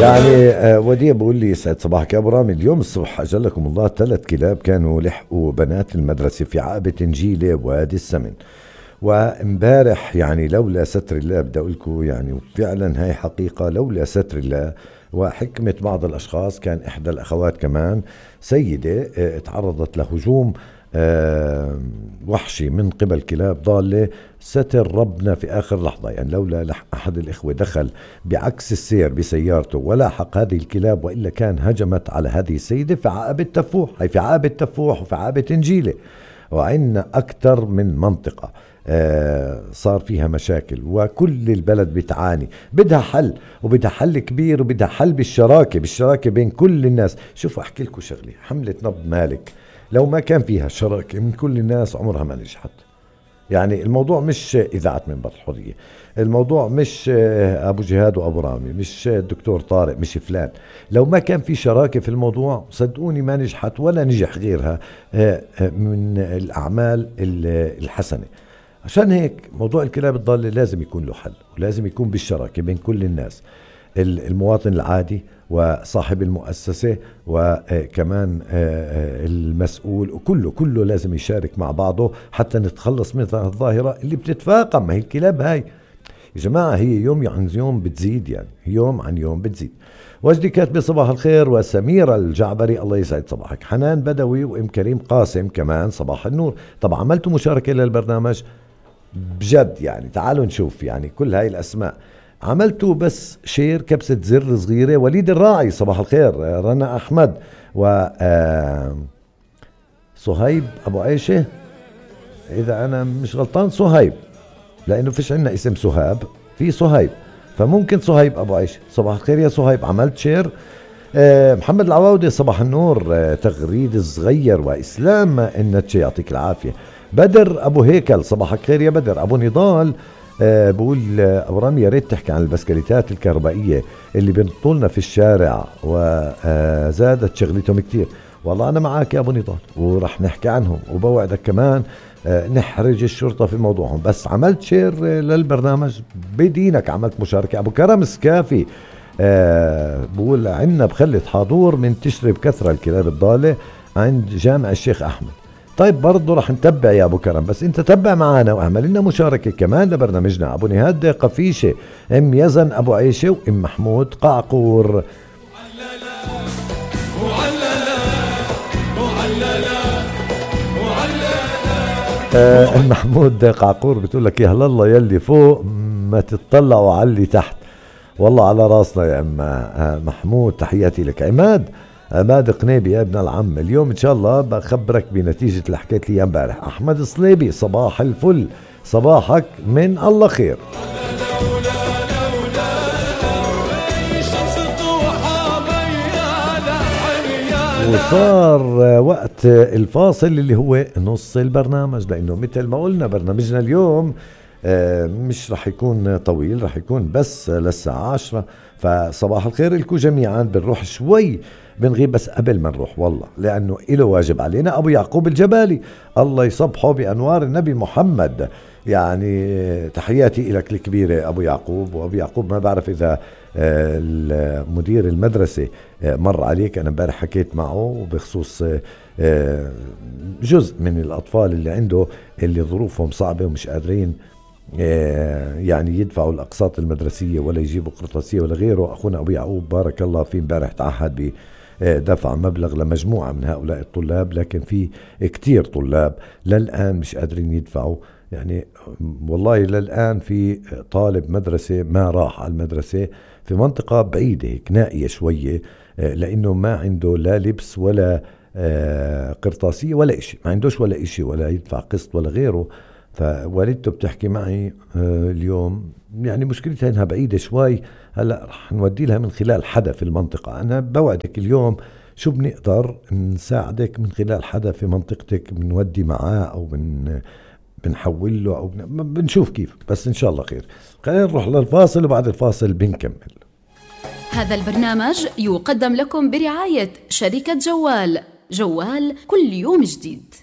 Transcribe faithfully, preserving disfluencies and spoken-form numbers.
يعني آه وديع بقول لي يسعد صباحك يا ابو رامي. اليوم الصبح اجلكم الله ثلاث كلاب كانوا لحقوا بنات المدرسه في عقبه نجيله وادي السمن. وامبارح يعني لولا ستر الله بدي اقول لكم يعني وفعلا هاي حقيقه لولا ستر الله وحكمه بعض الاشخاص. كان احدى الاخوات كمان سيده آه تعرضت لهجوم أه وحشي من قبل كلاب ضالة. ستر ربنا في آخر لحظة. يعني لولا أحد الإخوة دخل بعكس السير بسيارته ولاحق هذه الكلاب وإلا كان هجمت على هذه السيدة في عقبة تفوح. هي في عقبة تفوح وفي عقبة نجيلة وعندنا أكثر من منطقة آه صار فيها مشاكل وكل البلد بتعاني. بدها حل وبدها حل كبير وبدها حل بالشراكة بالشراكة بين كل الناس. شوفوا أحكي لكم شغلة. حملة نبض مالك لو ما كان فيها شراكة من كل الناس عمرها ما نجحت. يعني الموضوع مش إذاعة منبر الحرية. الموضوع مش أبو جهاد وأبو رامي مش الدكتور طارق مش فلان. لو ما كان في شراكة في الموضوع صدقوني ما نجحت ولا نجح غيرها من الأعمال الحسنة. عشان هيك موضوع الكلاب الضالة لازم يكون له حل ولازم يكون بالشراكة بين كل الناس. المواطن العادي وصاحب المؤسسة وكمان المسؤول وكله كله لازم يشارك مع بعضه حتى نتخلص من الظاهرة اللي بتتفاقم. ما هي الكلاب هاي يا جماعة هي يوم عن يوم بتزيد. يعني يوم عن يوم بتزيد. وجدي كاتبة صباح الخير وسميرة الجعبري الله يسعد صباحك. حنان بدوي وام كريم قاسم كمان صباح النور. طبعا عملتوا مشاركة للبرنامج بجد يعني تعالوا نشوف يعني كل هاي الأسماء عملتوا بس شير كبسة زر صغيرة. وليد الراعي صباح الخير. رنا أحمد و صهيب أبو عيشة إذا أنا مش غلطان صهيب لأنه فيش عنا اسم سهاب في صهيب فممكن صهيب أبو عيشة. صباح الخير يا صهيب عملت شير. محمد العواودي صباح النور تغريد صغير وإسلام النتشي يعطيك العافية. بدر أبو هيكل صباح الخير يا بدر. أبو نضال أه بقول أبو رامي يا ريت تحكي عن البسكليتات الكهربائية اللي بينطولنا في الشارع وزادت شغلتهم كتير. والله أنا معاك يا أبو نضال ورح نحكي عنهم وبوعدك كمان أه نحرج الشرطة في موضوعهم. بس عملت شير للبرنامج بدينك عملت مشاركة. أبو كرم سكافي أه بقول عنا بخلة حاضور من تشري بكثرة الكلاب الضالة عند جامع الشيخ أحمد. طيب برضو رح نتبع يا أبو كرم بس انت تبع معانا واعمل لنا مشاركة كمان لبرنامجنا. أبو نهاد قفيشة ام يزن أبو عيشة وام محمود قعقور. آه محمود قعقور بتقول لك يا هلا الله يلي فوق ما تتطلعوا على اللي تحت. والله على راسنا يا ام آه محمود تحياتي لك. عماد عماد قنيبي يا ابن العم اليوم ان شاء الله بخبرك بنتيجة اللي حكيت لي امبارح. احمد صليبي صباح الفل صباحك من الله خير. وصار وقت الفاصل اللي هو نص البرنامج لانه مثل ما قلنا برنامجنا اليوم مش رح يكون طويل رح يكون بس للساعة عشرة. فصباح الخير لكم جميعا. بنروح شوي بنغيب بس قبل ما نروح والله لأنه إله واجب علينا. أبو يعقوب الجبالي الله يصبحه بأنوار النبي محمد. يعني تحياتي لك الكبيرة أبو يعقوب. وأبو يعقوب ما بعرف إذا مدير المدرسة مر عليك. أنا امبارح حكيت معه بخصوص جزء من الأطفال اللي عنده اللي ظروفهم صعبة ومش قادرين يعني يدفعوا الأقساط المدرسية ولا يجيبوا قرطاسية ولا غيره. أخونا أبو يعقوب بارك الله فيه امبارح تعهد بدفع مبلغ لمجموعة من هؤلاء الطلاب لكن في كتير طلاب للآن مش قادرين يدفعوا. يعني والله للآن في طالب مدرسة ما راح على المدرسة في منطقة بعيدة هيك نائية شوية لأنه ما عنده لا لبس ولا قرطاسية ولا إشي. ما عندوش ولا إشي ولا يدفع قسط ولا غيره. فوالدته بتحكي معي اليوم يعني مشكلتها انها بعيدة شوي. هلأ رح نودي لها من خلال حدا في المنطقة. انا بوعدك اليوم شو بنقدر نساعدك من خلال حدا في منطقتك بنودي معاه او بن بنحول له او بن... بنشوف كيف. بس ان شاء الله خير. خلينا نروح للفاصل وبعد الفاصل بنكمل. هذا البرنامج يقدم لكم برعاية شركة جوال. جوال كل يوم جديد.